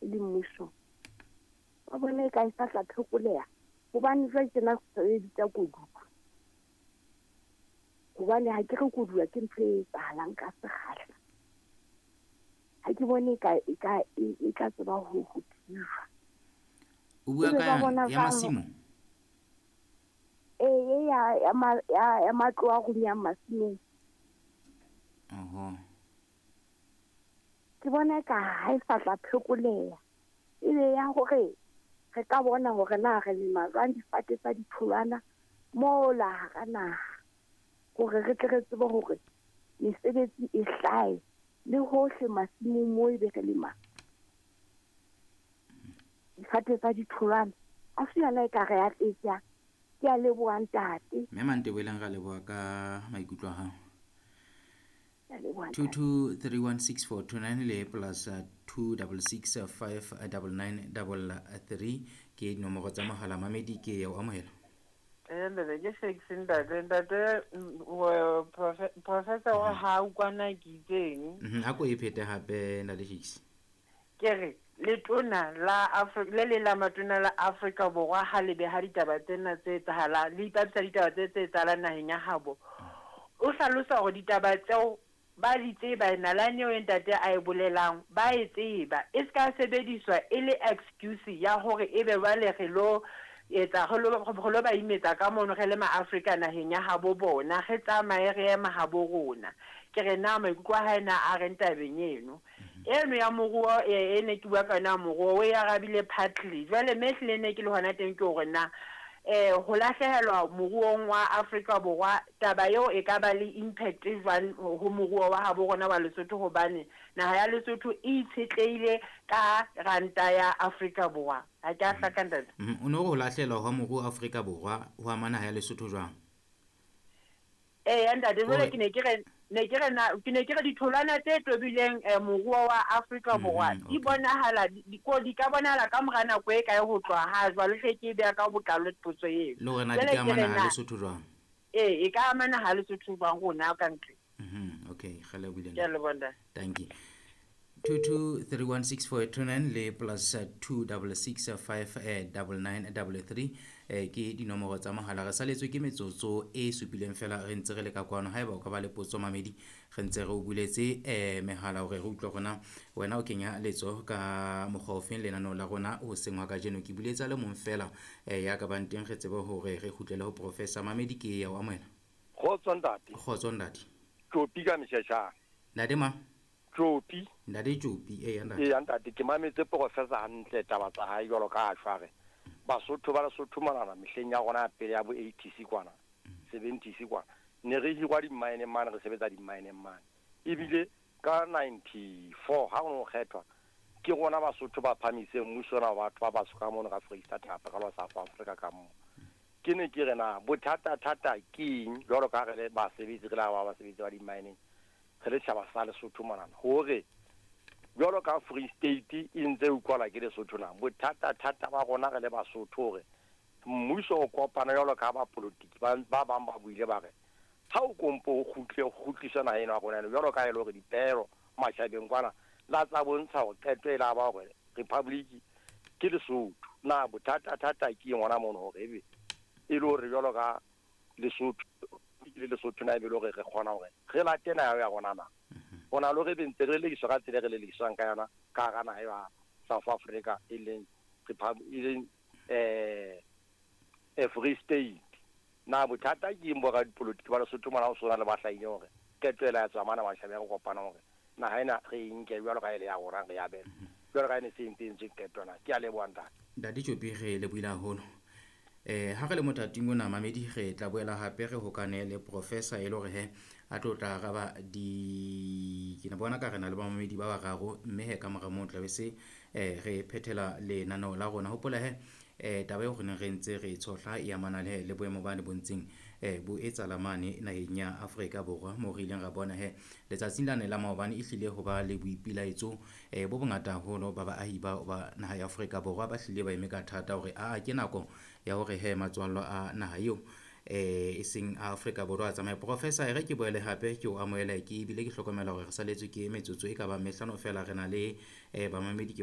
E le mmuso. Ba bone e ka e sa tla phekoleha. Hobane jwale tjena re bitsa koduwa. Hobane ha ke re koduwa ke ntho e etsahalang ka sekgahla. Ha ke bone e tla tseba ho thijwa. O bua ka ya masimo? Ee, ya matlo a runyang masimong. Oho. Ke bona ka ha e sa tla phekoleha. Ebe ya hore re ka bona hore na re lema jwang difate tsa ditholwana mola hara naha. Hore re tle re tsebe hore mesebetsi e hlahe le hohle masimong moo ebe re lema difate tsa ditholwana. A se yona e ka re atletsang. Ke a leboha ntate. Mme Manteboeleng ra leboha ka maikutlo a hao. 22316429 le plus 26659933 ke dinomoro tsa mohala. Mamedi ke ya o amohela. Ntate ke Shakes ntate. Ntate professor wa ha kwana ke itseng. Ha ko e phete hape ntate Shakes. Ke re letona la Afrika le le la matona la Afrika Borwa ha le beha ditaba tsena tse etsahalang, le ipapisa ditaba tse etsahalang naheng ya habo. O hlalosa hore ditaba tseo ba di tseba, nalane eo ntate a e bolelang ba e tseba, e ska sebediswa e le excuse ya hore ebe jwale re lo etsa re lo ba imetsa ka mono re le ma-Afrika naheng ya habo bona, re tsamaye re ema habo rona. Ke re na maikutlo a hae na a reng tabeng eno. Eno ya moruo e ne ke bua ka yona moruo o e arabile partly. Jwale me ehlile ne ke le hona teng ke hore na ho lahlehelwa moruong wa Afrika Borwa taba eo e ka ba le impact jwang ho moruo wa habo rona wa Lesotho, hobane naha ya Lesotho e itshetlehile ka ranta ya Afrika Borwa. Ha ke a hlaka ntate. O no re ho lahlehelwa hwa moruo Afrika Borwa ho ama naha ya Lesotho jwang? Ntate jwale ke ne ke re ditholwana tse tobileng moruo wa Afrika Borwa di bonahala di ka bonahala ka mora nako e kae ho tloha ha jwale, hle ke beha ka botlalo potso eo. Le hore na di ka amana ha Lesotho jwang? E ka amana ha Lesotho jwang rona ka ntle. Okay, re lebohile. Ke a leboha ntate. Thank you. 22316429 le plus 26659933 ke dinomoro tsa mohala. Re saletswe ke metsotso e supileng fela re ntse re le ka kwano. Haeba o ka ba le potso mamedi, re ntse re o buletse mehala hore re utlwe rona wena o kenya letsoho ka mokgwa ofeng lenaneo la rona hoseng hwa kajeno. Ke buletsa le mong fela ya ka bang teng, re tsebe hore re kgutlele ho professor. Mamedi ke ya o amohela. Kgotso ntate. Kgotso ntate. Tjopi ka mesheshana. Ntate ma? Tjopi. Ntate Tjopi, eya ntate. Eya ntate, ke mametse professor hantle taba tsa hae jwalo ka a shware. Basotho ba Lesotho monana mehleng ya rona ya pele ya bo 80s kwana, 70s kwana. Ne re hirwa di-mine mane, re sebetsa di-mine mane. Ebile ka 94 ha ho kgethwa ke rona Basotho ba phamiseng mmuso ona wa batho ba batsho ka mono ka Freistata kapa ka South Africa ka mo. Ke ne ke re na bothata thata ke eng jwalo ka re le basebetsi, re la ba basebetsi ba di-mineng, re le tjhaba sa Lesotho monana, hore jwalo ka Free State e ntse utlwala ke Lesotho na bothata thata ba rona re le Basotho hore mmuso o kopana jwalo ka ba politiki ba bang ba buile ba re ha o kompo o kgutle kgutliswa naha ena ya rona jwalo ka e le hore dipehelo matjhabeng kwana la tsa bontsha hore qeto e la ba hore republic ke Lesotho. Na bothata thata ke eng hona mono hore ebe e le hore jwalo ka Lesotho le Lesotho na ebe le hore re kgona hore re late naha ya rona na hona le hore be ntse re lekiswa ka tsela e re lekiswang ka yona ka hara naha ya South Africa e leng Free State. Na bothata ke eng bo radipolotiki ba Lesotho mona ho sona le ba hlahile hore qeto ela ya tswa mana matjhabeng re kopana hore naha ena re e nke jwalo ka ele ya rona re abele jwalo ka ene se entse entswe qeto na. Ke a leboha ntate. Ntate Tjopi, re lebohile haholo. Ha re le mothating ona mamedi, re tla boela hape re hokane le professor e le hore he a tlo tla araba di ke ne bona ka re na le bamamedi ba bararo, mme he ka mora moo tla be se re phethela lenaneo la rona. Hopola he taba eo re neng re ntse re tshohla e amana le le boemo ba ne bontseng bo etsahala mane naheng ya Afrika Borwa, moo re ileng ra bona he letsatsing lane la maobane e hlile ho ba le boipilaetso bo bongata haholo ba baahi ba naha ya Afrika Borwa ba hlile ba eme ka thata hore a ke nako ya hore he matswallo a naha eo e seng Afrika Borwa a tsamaye. Professor, e re ke boele hape ke o amohele, ke ebile ke hlokomela hore re saletswe ke metsotso e ka bang mehlano fela. Re na le bamamedi ke